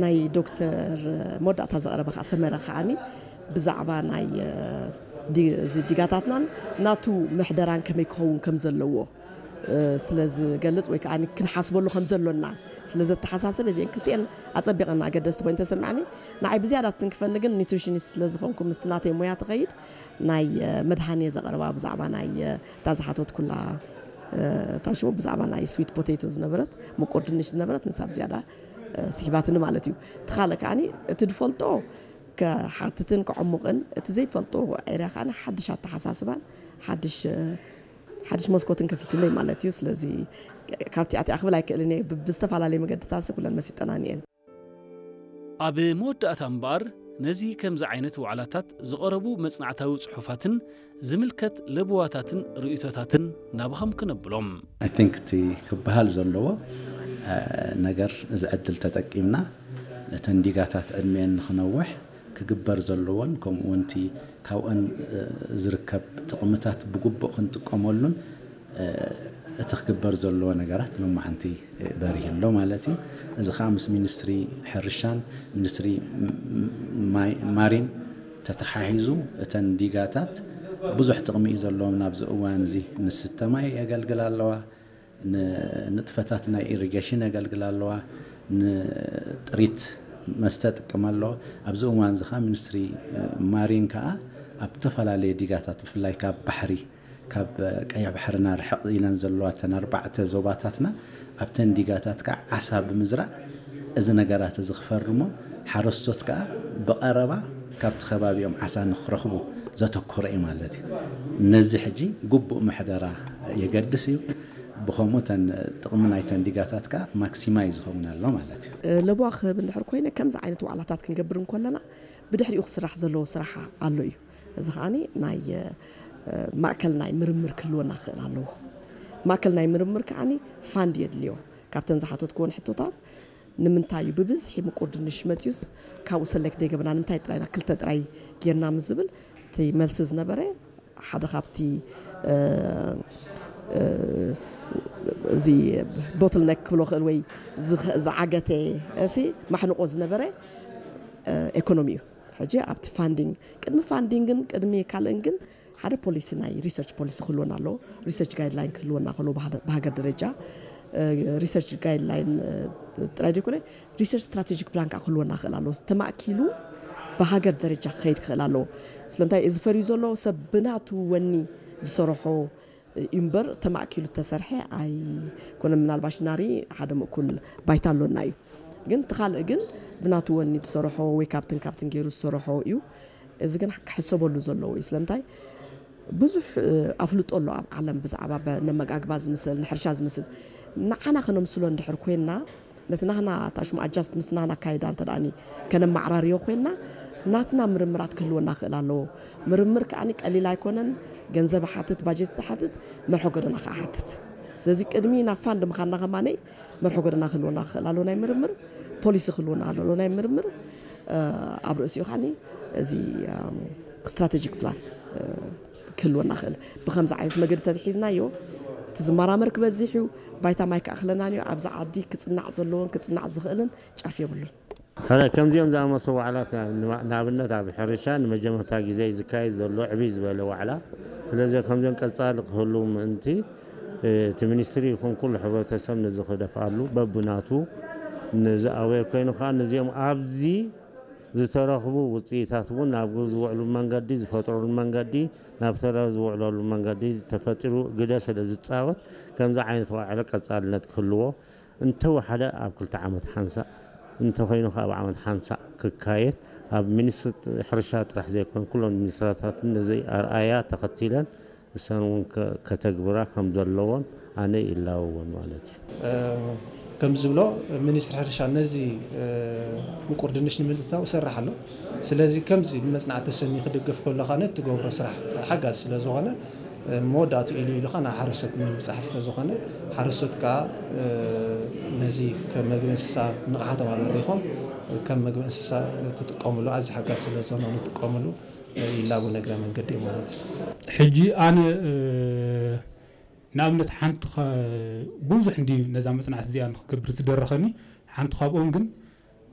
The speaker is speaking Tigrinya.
ናይ ዶክተር መወዳእታ ዘቕረበ ከዓ ሰመረ ከዓኒ ብዛዕባ ናይ ዲ- እዚ ዲጋታትናን ናቱ ምሕደራን ከመይ ክኸውን ከም ዘለዎ ስለ ዝገልጽ ወይ ከዓ ክንሓስበሉ ከም ዘሎና ስለ ዘተሓሳሰብ እዚአን ክልቲአን ኣጸቢቐን ኣገደስቲ ኮይኑ ተሰማዕኒ። ንዓይ ብዝያዳ ትንክፈኒ ግን ኒትሪሽኒስት ስለ ዝኾንኩ ምስቲ ናተይ ሞያ ትኸይድ ናይ መድሃኔ ዘቕረባ ብዛዕባ ናይ እታ ዝሓተት ኩላ እታ ሽሙ ብዛዕባ ናይ ስዊት ፖቴቶ ዝነበረት ምቁር ድንሽ ዝነበረት ንሳ ብዝያዳ ስሒባትኒ ማለት እዩ። እቲ ካልእ ከዓኒ እቲ ዝፈልጦ ክሓትትን ክዕሙቕን እቲ ዘይፈልጦ ኤርያ ከዓኒ ሓድሽ ኣተሓሳስባን ሓድሽ ሓድሽ መስኮትን ከፊቱለይ ማለት እዩ። ስለዚ ካብቲ ኣቲኣ ክብል ኣይክእልን እየ። ብዝተፈላለየ መገድታት ኩለን መሲጠናኒ እየን። ኣብ መወዳእታ እምበኣር ነዚ ከምዚ ዓይነት ዋዕላታት ዝቐረቡ መጽናዕታዊ ጽሑፋትን ዝምልከት ለበዋታትን ርእይቶታትን ናብኸም ክነብሎም። I think እቲ ክበሃል ዘለዎ ነገር እዚ ዕድል ተጠቂምና እተን ዲጋታት ዕድሜን ንክነውሕ ክግበር ዘለዎን ከምኡ እውን እቲ ካብኦን ዝርከብ ጥቕምታት ብግቡእ ክንጥቀመሉን እቲ ክግበር ዘለዎ ነገራት ሎማዓንቲ በሪህ ኣሎ ማለት እዩ። እዚ ከዓ ምስ ሚኒስትሪ ሕርሻን ሚኒስትሪ ማሪን ተተሓሒዙ እተን ዲጋታት ብዙሕ ጥቕሚ እዩ ዘለዎም። ናብዚ እዋን እዚ ንስተ ማይ የገልግላ ኣለዋ፣ ንንጥፈታት ናይ ኢሪጌሽን የገልግላ ኣለዋ፣ ንጥሪት መስተ ጥቀም ኣለዋ። ኣብዚ እዋን እዚ ከዓ ሚኒስትሪ ማሪን ከዓ ኣብ ዝተፈላለየ ዲጋታት ብፍላይ ካብ ባሕሪ ካብ ቀይሕ ባሕርና ርሕቕ ኢለን ዘለዋ እተን ኣርባዕተ ዞባታትና ኣብተን ዲጋታት ከዓ ዓሳ ብምዝራእ እዚ ነገራት እዚ ክፈርሞ ሓረስቶት ከዓ ብቐረባ ካብቲ ከባቢኦም ዓሳ ንክረኽቡ ዘተኮረ እዩ ማለት እዩ። ነዚ ሕጂ ግቡእ ምሕደራ የገድስ እዩ። ብኸምኡ እተን ጥቕሚ ናይተን ዲጋታት ከዓ ማክሲማይዝ ይኸውን ኣሎ ማለት እዩ። ለበዋ ክህብ እንድሕር ኮይነ ከምዚ ዓይነት ዋዕላታት ክንገብር እንከለና ብድሕሪኡ ክስራሕ ዘለዎ ስራሕ ኣሎ እዩ። እዚ ከዓኒ ናይ ማእከል ናይ ምርምር ክህልወና ክኽእል ኣለዎ። ማእከል ናይ ምርምር ከዓኒ ፋንድ የድልዮ። ካብተን ዝሓተትክወን ሕቶታት ንምንታይ እዩ ብብዝሒ ምቁር ድንሽ መፅዩስ ካብኡ ሰሌክት ዘይገበና ንምንታይ ጥራይና ክልተ ጥራይ ጌርና ምስ ዝብል እቲ መልሲ ዝነበረ ሓደ ካብቲ እዚ ቦትልነክ ክብሎ ክእል ወይ ዝዓገተ ሲ ማሕንቆ ዝነበረ ኤኮኖሚ እዩ። ሕጂ ኣብቲ ፋንዲንግ ቅድሚ ፋንዲንግን ቅድሚ ካልእን ግን ሓደ ፖሊሲ ናይ ሪሰርች ፖሊሲ ክህልወና ኣለዎ። ሪሰርች ጋይድላይን ክህልወና ከሎ ብሃገር ደረጃ ሪሰርች ጋይድላይን ጥራይ ዘይኮነ ሪሰርች ስትራቴጂክ ፕላን ከዓ ክህልወና ክእል ኣለዎ። ተማእኪሉ ብሃገር ደረጃ ክኸይድ ክኽእል ኣለዎ። ስለምንታይ እዚ ፈርዩ ዘሎ ሰብ ብናቱ ወኒ ዝሰርሖ እዩ እምበር ተማእኪሉ ተሰርሐ ኣይኮነ። ምናልባሽ ናሪ ሓደ ምእኩል ባይታ ኣሎና እዩ። ግን እቲ ካልእ ግን ብናቱ ወኒ ዝሰርሖ ወይ ካብትን ካብትን ገይሩ ዝሰርሖ እዩ። እዚ ግን ክሕሰበሉ ዘለዎ እዩ። ስለምንታይ ብዙሕ ኣፍልጦ ኣሎ ኣብ ዓለም ብዛዕባ ነመጋግባ ዝምስል ንሕርሻ ዝምስል ንዓና ከነምስሎ እንድሕር ኮይንና ነቲ ናህና ታሽሙ ኣጃስት ምስ ናህና ኣካይዳ እንተ ደኣኒ ከነማዕራርዮ ኮይንና ናትና ምርምራት ክህልወና ክእል ኣለዎ። ምርምር ከዓኒ ቀሊል ኣይኮነን። ገንዘብ ሓትት ባጀት ሓትት መርሖ ጎደና ከዓ ሓትት። ስለዚ ቅድሚ ናብ ፋንድ ምኻንና ከማነይ መርሖ ጎደና ክህልወና ክኽእል ኣለዎ ናይ ምርምር ፖሊሲ ክህልወና ኣለዎ ናይ ምርምር ኣብ ርእሲኡ ከዓኒ እዚ ስትራቴጂክ ፕላን ክህልወና ክእል ብከምዚ ዓይነት መገዲ ተትሒዝናዮ እቲ ዝመራመር ክበዝሕ እዩ። ባይታ ማይ ክኣክለናን እዩ። ኣብዚ ዓዲ ክፅናዕ ዘለዎን ክፅናዕ ዝኽእልን ጫፍ የብሉን። ሕረ ከምዚኦም ዝኣመሰ ዋዕላት ንኣብነት ኣብ ሕርሻ ንመጀመርታ ግዜ ዝካየድ ዘሎ ዕብይ ዝበለ ዋዕላ ስለዚ ከምዚኦም ቀፃሊ ክህሉ ምእንቲ እቲ ሚኒስትሪ ይኹን ኩሉ ሕብረተሰብ ነዚ ክደፍኣሉ በብናቱ ነዚ ኣዌር ኮይኑ ከዓ ነዚኦም ኣብዚ ዝተረኽቡ ውፅኢታት እውን ናብ ግብሪ ዝውዕሉ መንገዲ ዝፈጥረሉ መንገዲ ናብ ተረ ዝውዕለሉ መንገዲ ተፈጢሩ ግደ ስለ ዝፃወት ከምዚ ዓይነት ዋዕለ ቀፃልነት ክህልዎ እንተወሓደ ኣብ ክልተ ዓመት ሓንሳእ እንተኮይኑ ከዓ ኣብ ዓመት ሓንሳእ ክካየድ ኣብ ሚኒስትሪ ሕርሻ ጥራሕ ዘይኮን ኩሎም ሚኒስትራታትን ነዚ ኣርኣያ ተኸቲለን እሰን እውን ከተግብራ ከም ዘለዎን ኣነ ይላወወን ማለት እዩ። ከም ዝብሎ ሚኒስትሪ ሕርሻ ነዚ ምቁር ድንሽ ንምልታው ይሰርሕ ኣሎ። ስለዚ ከምዚ ብመፅናዕቲ ተሰንዩ ክድገፍ ከሎ ከዓ ነቲ ትገብሮ ስራሕ ሓጋዚ ስለ ዝኾነ መወዳእቱ ኢሉ ኢሉ ከዓ ናብ ሓረስቶት ንምብፃሕ ስለ ዝኾነ ሓረስቶት ከዓ ነዚ ከም መግቢ እንስሳ ንቕሓቶም ኣበሪኾም ከም መግቢ እንስሳ ክጥቀምሉ ኣዝዩ ሓጋዚ ስለ ዝኾነ ንጥቀምሉ ይላቡ ነግረ መንገዲ ማለት እዩ። ሕጂ ኣነ ንኣብነት ሓንቲ ብዙሕ እንድዩ ነዛ መፅናዕቲ እዚኣ ንክገብር ዝደረኸኒ ሓንቲ ካብኦም ግን